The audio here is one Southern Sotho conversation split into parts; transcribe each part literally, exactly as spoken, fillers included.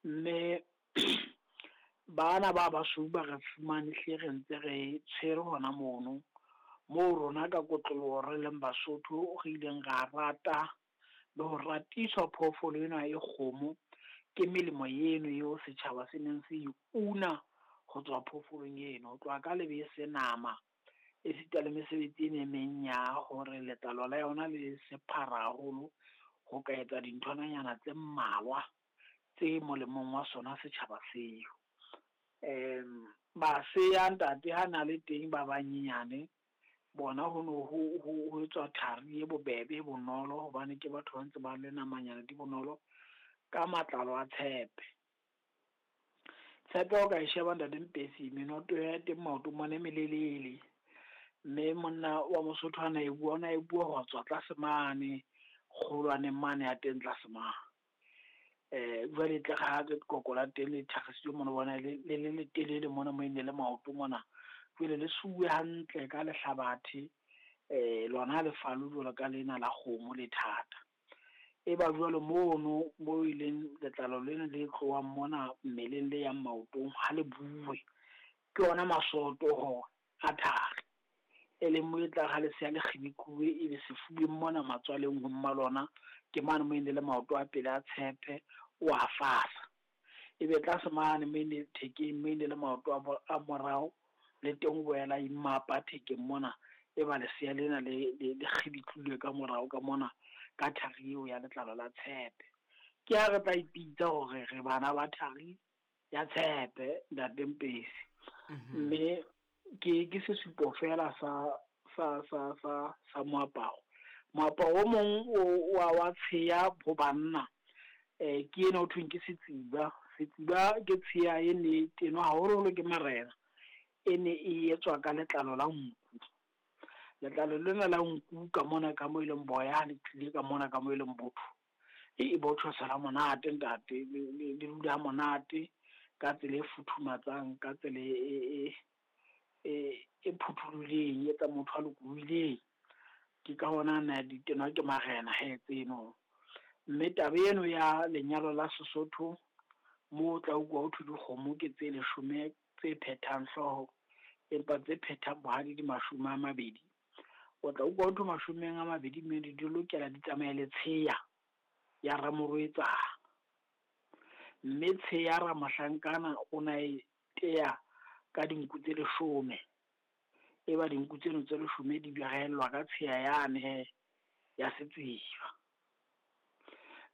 Mme bana ba basweu ba re fumane hle re ntse re tshwere hona mono, moo rona ka kotloloho re leng Basotho re ileng ra rata le ho ratiswa phoofolo ena e kgomo. Ke melemo eno eo setjhaba se neng se e una ho tswa phoofolong eno. Ho tloha ka lebese, nama, e sita le mesebetsi ena e meng ya hore letlalo la yona le sephara haholo ho ka etsa dinthwananyana tse mmalwa tse molemong wa sona setjhaba seo. Um masea ntate ha na le teng ba banyenyane, bona ho no ho ho ho etswa thari e bobebe e bonolo hobane ke batho ba ntse ba le namanyana di bonolo ka matlalo a tshepe. Tshepe ha o ka e sheba ntate Mpesi menoto ya teng maotong mona e melelele, mme monna wa Mosotho ha na e bua, ona e bua ho tswa tlase mane kgolwaneng mane ya teng tlase mane. Jwale e tle re ha lekoko la teng le thakgisitswe mona, o bona le le letelele mona mo e ne le maoto mona. Jwale le suwe hantle ka lehlabathe, lona ha le falwe jwalo ka lena la kgomo le thata. E ba jwale mono mo e leng letlalo lena le tlohang mona mmeleng le yang maotong ha le buwe, ke yona masoto a thari. E leng mo e tlang ha lesea le kgibikuwe ebe sefubeng mona matswaleng ho mma lona, ke mane mo e ne le maoto a pele a tshepe o a fasa. Ebe tlase mane mo e ne thekeng mo e ne le maoto a a morao, le teng o boela imapa thekeng mona. E ba lesea lena le le le kgibitlilwe ka morao ka mona ka thari eo ya letlalo la tshepe. Ke ha re tla ipitsa hore re bana ba thari ya tshepe ntate Mpesi. Mme ke ke sesupo fela sa sa sa sa sa moaparo. Moaparo o mong o wa wa tsheya ho banna, eh ke ena ho thweng ke setsiba. Setsiba ke tsheya e ne tenwa haholoholo ke marena, e ne e etswa ka letlalo la nku. Letlalo lena la nku ka mona ka mo e leng boya ha le tlile ka mona ka mo e leng botho, e botjhosela monate ntate, le le le dula ha monate ka tsela e futhumatsang, ka tsela e e e e phuthulohileng, e etsang motho a lokolohileng. Ke ka hona na di tenwa ke marena hee tseno. Mme taba eno ya lenyalo la Sesotho, moo o tla utlwa ho thwe dikgomo ke tse leshome tse phethang hlooho, empa tse phethang bohadi di mashome a mabedi. O tla utlwa ho thwe mashome a mabedi mme di lokela di tsamaye le tsheya ya ramorwetsana. Mme tsheya ramohlankana o na e teya ka dinku tse leshome. E ba dinku tseno tse leshome di behellwa ka tsheya yane hee ya setsiba.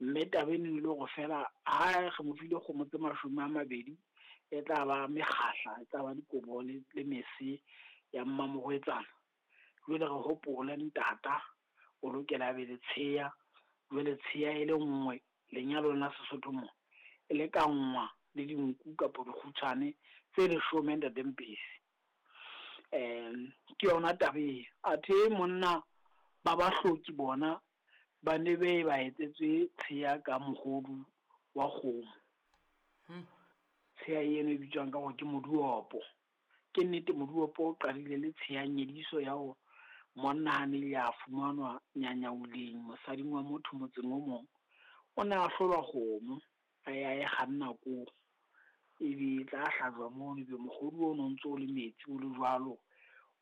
Mme taba eno e le hore feela ha re mo file kgomo tse mashome a mabedi, e tla ba mekgahla, e tla ba dikobo le, le mese ya mmamorwetsana. Jwale re hopole ntata o lokela a be le tsheya, jwale tsheya e le nngwe lenyalong la Sesotho mo e lekanngwa le dinku kapa dikgutshwane tse leshome ntate Mpesi. Um ke yona taba eo. Athe monna ba bahloki bona ba ne be ba etsetswe tsheya ka mohodu wa kgomo. Hmm. Tsheya eno e bitswang ka hore ke moduopo. Ke nnete moduopo o qadile le tsheya nyediso ya ho monna ha ne a fumanwa nyanyauleng mosading wa motho motseng o mong, o ne a hlolwa kgomo, a ya e kganna koo. Ebe e tla hlajwa mono, ebe mohodu ono o ntso o le metsi o le jwalo,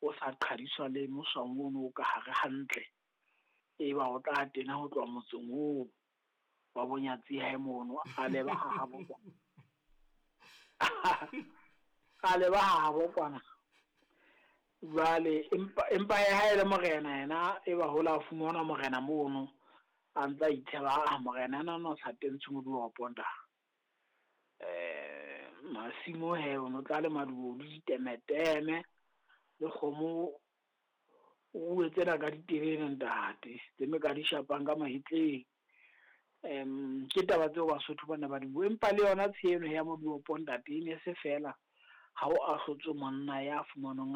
o sa qhadiswa le moswang ono o ka hare hantle. Eba o tla tena ho tloha motseng oo wa bonyatsi hae mono, a leba ha habo kwana. A leba ha habo kwana. Jwale empa empa ha e le morena yena, e ba hola a fumana morena mono, a ntsa itsheba, ah morena ena no sa tentshe moduopo nta. Eh masimo he o no tla le maduo le ditemeteme le kgomo o tsena ka diterene ntate, tse me ka di shapang ka mahetleng. Em ke taba tseo Basotho bana ba di bua, empa le yona tsheeno ya moduopo ntate e ne se fela ha o ahlotswe monna ya fumanwang